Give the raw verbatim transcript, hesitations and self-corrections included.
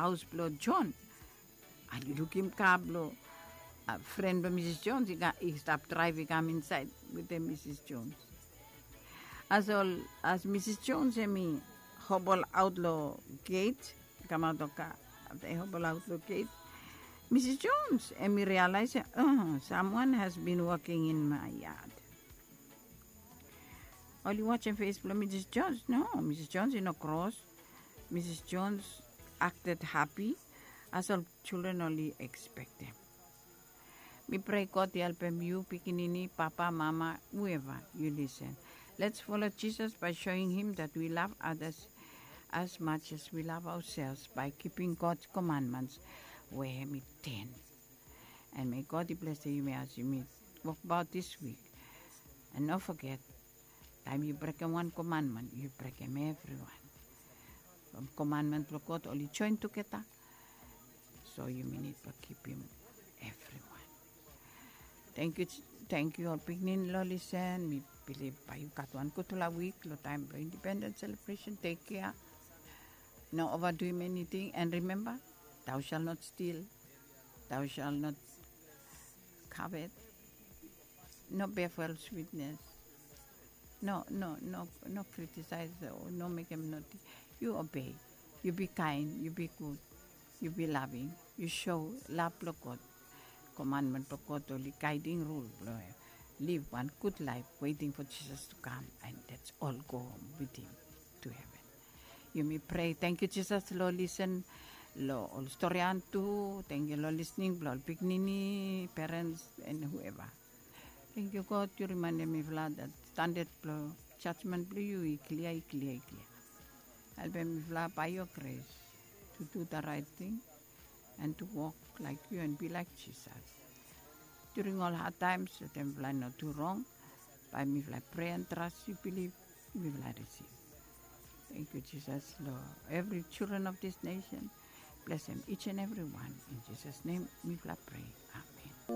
haos blong John. Oli lukim ka blong fren blong Misis Jones i stap draev i kam insaed wetem Misis Jones. As ol as Misis Jones hem i hobol aot long geit, kamaot long ka, afta i hobol aot long geit, Misis Jones hem i realaes, oh, samwan has bin woking in mae yad. Oli wajem fes blong Misis Jones. No, Misis Jones i no kros. Misis Jones akted hapi. As ol children oli ekspektem. Mi prei God i helpem yu pikinini, papa, mama, whoever yu lisen. Let's follow Jesus by showing him that we love others as much as we love ourselves by keeping God's commandments where hem i ten. And may God i blesem yumi as yumi wokbaot this week. And no foget, taem yu brekem wan commandment yu brekem evriwan. From commandment blong God oli joen tugeta. So yumi nid blong kipim evriwan. Tangkiu, tangkiu ol pikinini long lisen. Mi bilif bae yu gat wan gudfala wik long taem blong independens selebresen. Tek kea. No ovaduim eniting. And remember, thou shall not steal, thou shall not covet, no bear false witness, no no no no criticize o no mekem noti. Yu obei. Yu bi kaen, yu bi gud, yu bi laving, yu sho lav blong God. Commandment blong God oli gaeding rul blong liv wan gud laef, waiting for Jesus to come, and that's all go home with him to heaven. Yumi prei. Tangkiu Jesus long lisen long ol storian tu. Tangkiu long lisning blong ol pikinini, parents, and whoever. Tangkiu God, yu rimaendem mifala that standard blong judgment blong yu i klia, i klia, i klia. Helpem mifala by your grace to do the right thing and to walk like you and be like Jesus. During all hard times, let mifala no do wrong. Bae mifala pray and trust you, believe mifala receive. Thank you, Jesus, Lord. Every children of this nation, bless them each and every one. In Jesus' name, mifala pray. Amen.